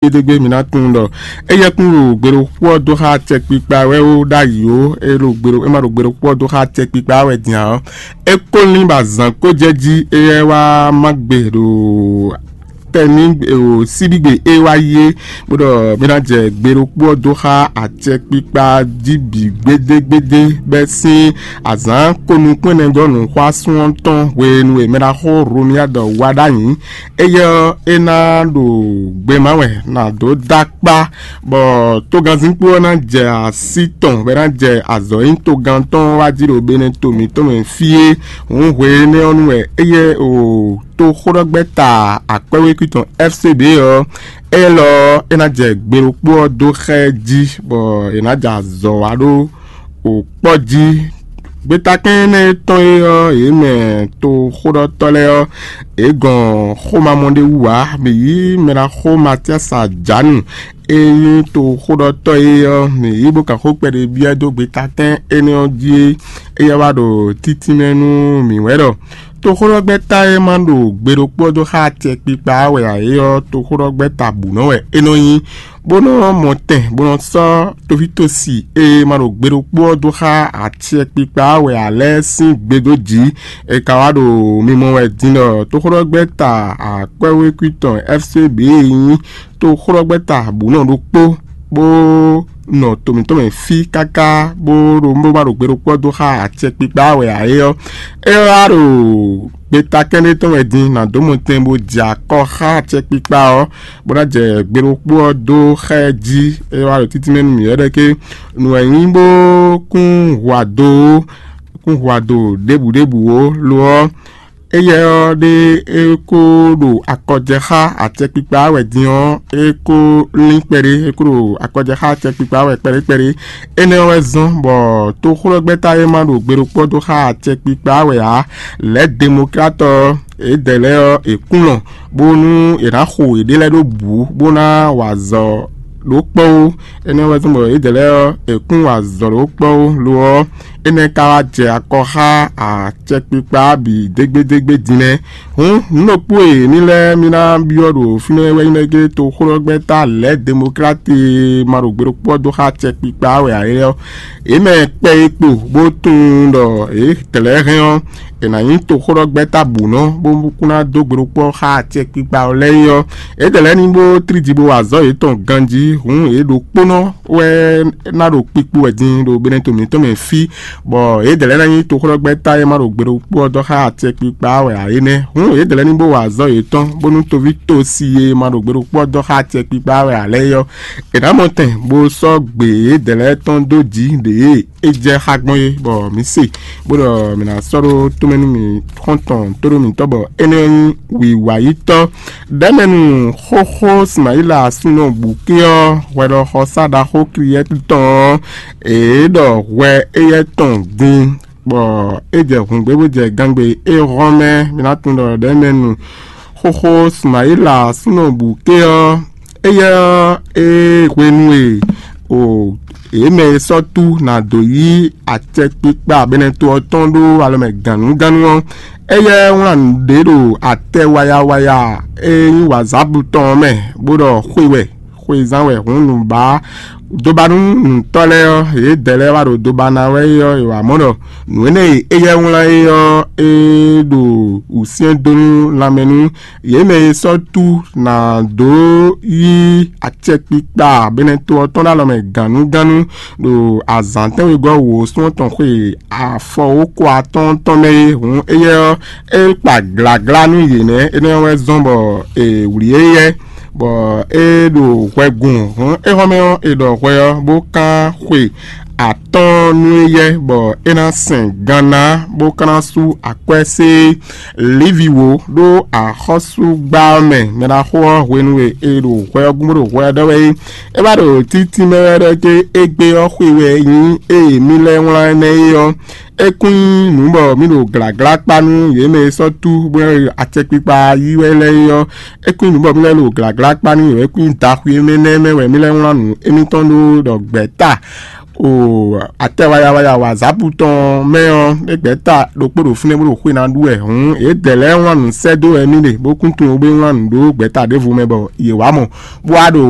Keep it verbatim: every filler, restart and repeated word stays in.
Gbédégbé mi ná tunwun ɖɔ éyɛ́ kún ɖo gbeɖokpó ɔ́ dó xá acɛkpikpa wɛ ó ɖ'ayǐ ó, é ɖo gbeɖo é ma ɖo gbeɖokpó ɔ́ dó xá acɛkpikpa wɛ din ǎ ɔ́, é kó lín bɔ azǎn kó jɛ jí, éyɛ́ wá má gbe ɖo tɛní síbígbe é wá yi é, bó ɖɔ mí ná jɛ gbeɖokpó ɔ́ dó xá acɛkpikpa jí bǐ gbédégbédé bɛ́ sín azǎn ko nukún ɛnɛ dó nǔxwásún ɔ́ tɔn hwenu e mɛɖaxó Roniyadɔ wá ɖ'ayǐ. Éyɛ́ ɔ́, é ná ɖo gbema wɛ ná dó dó akpá, bɔ togannzínkpo ɔ́ ná jɛ así tɔn bɔ é ná jɛ azɔ̌ nyí togán tɔn wá jí ɖo Benɛto mǐtɔn mɛ fí é. Hǔn hwe énɛ́ ɔ́ nu wɛ éyɛ́ o toxóɖɔgbɛ́ta akwɛ́wékwí tɔn F C B ɔ́, élɔ́ ɔ́, é ná jɛ gbe ɖokpó ɔ́ dó xá ɛ jí, bɔ è nǎ jɛ azɔ̌ wa ɖó o kpɔ́ jí. Gbétakɛ́n énɛ́ e tɔn é ɔ́, yě mɛ toxóɖɔtɔ́ lɛ́ɛ ɔ́, yě gɔn xomamɔ ɖé wú ǎ. Mǐ yí mɛɖaxó Matíasa Jǎnu e nyí toxóɖɔtɔ́ é ɔ́, mǐ yí bó kan xó kpɛɖé byɔ́ ɛ dó gbétakɛ́n énɛ́ ɔ́ jí é. Éyɛ́ wá ɖo títínmɛ nú mǐ wɛ ɖɔ toxóɖɔgbɛ́ta e ma ɖo gbe ɖokpó ɔ́ dó xá acɛkpikpa ɔ́ wɛ ǎ é ɔ́, toxóɖɔgbɛ́ta bǔ nɔ wɛ é nɔ nyí, bó nɔ́ mɔ tɛn bó nɔ́ sɔ́ tovítosi e ma ɖo gbe ɖokpó ɔ́ dó xá acɛkpikpa ɔ́ wɛ ǎ lɛ́ɛ sín gbe dó jǐ. È ka wá ɖo mimɔ wɛ din ɖɔ toxóɖɔgbɛ́ta akwɛ́wékwí tɔn F C B e nyí toxóɖɔgbɛ́ta bǔ nɔ ɖokpó bó nɔ to mǐtɔn mɛ fí káká bó ɖo bó ma ɖo gbe ɖokpó ɔ́ dó xá acɛkpikpa wɛ ǎ é ɔ́, é wá ɖo gbeta kɛ́ɖé tɔn wɛ din nǎ dó mɔtɛn bó jɛ akɔ xá acɛkpikpa ɔ́, bó ná jɛ gbe ɖokpó ɔ́ dó xá ɛ jí. É wá ɖo títí mɛ nú mǐ wɛ ɖɔ ké nǔ wɛ nyí bó kún hu ado ó, kún hu ado ɖěbǔ ɖěbǔ ó. Lo ɔ́, éyɛ́ ɔ́ ɖé é kó ɖo akɔjɛ xá acɛkpikpa wɛ din ɔ́, é kó lín kpɛɖé, é kó ɖo akɔjɛ xá acɛkpikpa wɛ kpɛɖé kpɛɖé. Énɛ́ ɔ́ wɛ zɔ́n bɔ toxóɖɔgbɛ́ta e ma ɖo gbe ɖokpó dó xá acɛkpikpa wɛ ǎ, lɛ̌ demoklatɔ ɔ́, yědɛɛ lɛ́ɛ ɔ́, è kún lɔn bónú è nǎ xo yěɖée lɛ́ɛ ɖó bǔ bó ná wa azɔ̌ ɖó kpɔ́ ó. Énɛ́ wɛ zɔ́n bɔ yědɛɛ lɛ́ɛ ɔ́, è kún wa azɔ̌ ɖó kpɔ́ ó. Lo ɔ́, énɛ́ ka wá jɛ akɔ xá acɛkpikpa bǐ dégbédégbé din nɛ́. Hǔn nǔ ɖokpó e mǐ lɛ́ɛ mì ná byɔ́ ɖo fínɛ́ wɛ nyí ɖɔ gé toxóɖɔgbɛ́ta lɛ̌ demokláti e ma ɖo gbe ɖokpó ɔ́ dó xá acɛkpikpa wɛ ǎ é ɔ́, yě mɛ kpɛ e kpo bó tunwun ɖɔ yě dlɛ̌ hɛn ɔ́, è nǎ nyí toxóɖɔgbɛ́ta bǔnɔ bó kún ná dó gbe ɖokpó ɔ́ xá acɛkpikpa ɔ́ lɛ́ɛ é ɔ́, yědɛɛ lɛ́ɛ ní bó tlí ji bó wa azɔ̌ yětɔn ganjí. Hǔn yě ɖokpónɔ wɛ ná ɖo kpikpo wɛ din ɖo Benɛto mǐtɔn mɛ fí, bɔ yědɛɛ lɛ́ɛ ná nyí toxóɖɔgbɛ́ta e ma ɖo gbe ɖokpó ɔ́ dɔ́ xá acɛkpikpa wɛ ǎ é nɛ́. Hǔn yědɛɛ lɛ́ɛ ní bó wa azɔ̌ yětɔn, bónú toví tosi e ma ɖo gbe ɖokpó ɔ́ dɔ́ xá acɛkpikpa wɛ ǎ lɛ́ɛ é ɔ́, è nǎ mɔ tɛn bó sɔ́ gbe yědɛɛ lɛ́ɛ tɔn dó jǐ ɖě e é jɛ xá gbɔn é, bɔ mǐ se, bó ɖɔ mǐ ná sɔ́ ɖó tomɛ nú mì xɔ́ntɔn tóɖó mǐtɔn, bɔ énɛ́ nyí wǐwayítɔ́. Ɖɛ̌mɛnu xóxó Simayila súnnu Bukí ɔ́, hwɛɖɔxɔsá ɖaxó Kliyɛ́tu tɔn ɔ́, é ɖɔ hwɛ éyɛ́ tɔn din, bɔ é jɛ hǔngbé bó jɛ gangbe é hɔn mɛ. Mi ná tunwun ɖɔ ɖɛ̌mɛnu xóxó Simayila súnnu Bukí ɔ́, éyɛ́ ɔ́, é hwenu e o yě mɛ e sɔ́ tú nǎ dó yí acɛkpikpa Benɛto ɔ́ tɔn ɖó alɔ mɛ gǎnnugánnu ɔ́, éyɛ́ wlán nǔɖé ɖo atɛ wayawaya e nyí wǎzábu tɔn ɔ́ mɛ, bó ɖɔ xwe wɛ, xwezán wɛ hǔn nǔbá dóbánú nǔtɔ́ lɛ́ɛ ɔ́, yědɛɛ lɛ́ɛ wá ɖo dóbá ná wɛ é ɔ́, è wǎ mɔ ɖɔ nǔ énɛ́ e éyɛ́ wlán é ɔ́, é ɖo wǔsyɛ́n dó nú lanmɛ nú yě mɛ e sɔ́ tú ná dó yí acɛkpikpa Benɛto ɔ́ tɔn ɖó alɔ mɛ gǎnnugánnu ɖo azǎn tɛ́nwegɔ́ wǒ sún ɔ́ tɔn xwe afɔwókɔ atɔ́ɔ́n tɔn mɛ é. Hǔn éyɛ́ ɔ́, é kpa glaglá nú yě nɛ́. Énɛ́ ɔ́ wɛ zɔ́n bɔ è wlǐ éyɛ́, bɔ é ɖo hwɛ gun. Hǔn éhɔ́mɛ ɔ́, è ɖɔ hwɛ ɔ́, bó kán xwe atɔ́ɔ́n nú éyɛ́, bɔ é ná sɛn gan ná, bó ka ná sú akwɛ́ sé Livi wǒ ɖó axɔ́súgbá ɔ́ mɛ. Mɛɖaxó ɔ́, hwenu e è ɖo hwɛ ɔ́ gún bó ɖo hwɛ ɔ́ ɖɔ wɛ é, é wá ɖo títí mɛ wɛ ɖɔ cé égbé ɔ́ xwe wɛ nyí ée mì lɛ́ wlán énɛ́ é ɔ́, é kún nyí nǔ bɔ mì ɖo glǎglá kpá nú yě mɛ e sɔ́ tú bó ná ɖo acɛkpikpa yí wɛ lɛ́ɛ é ɔ́, é kún nyí nǔ bɔ mì lɛ́ ɖo glǎglá kpá nú yě wɛ, é kún nyí daxwi énɛ́ mɛ wɛ mì lɛ́ wlán nǔ émítɔn ɖó ɖɔ gbɛ̌ta O atɛ wayawaya wa zapu tɔn mɛ ɔ́, é gbɛ̌ta ɖokpó ɖo fínɛ́ bó ɖo xwé ná ɖu wɛ hǔn, yědɛɛ lɛ́ɛ wlán nǔ sɛ́ dó wɛ mì ɖe, bó kún tunwun bó wlán nǔ ɖó gbɛ̌ta ɖěvo mɛ bɔ yě wá mɔ, bó wá ɖo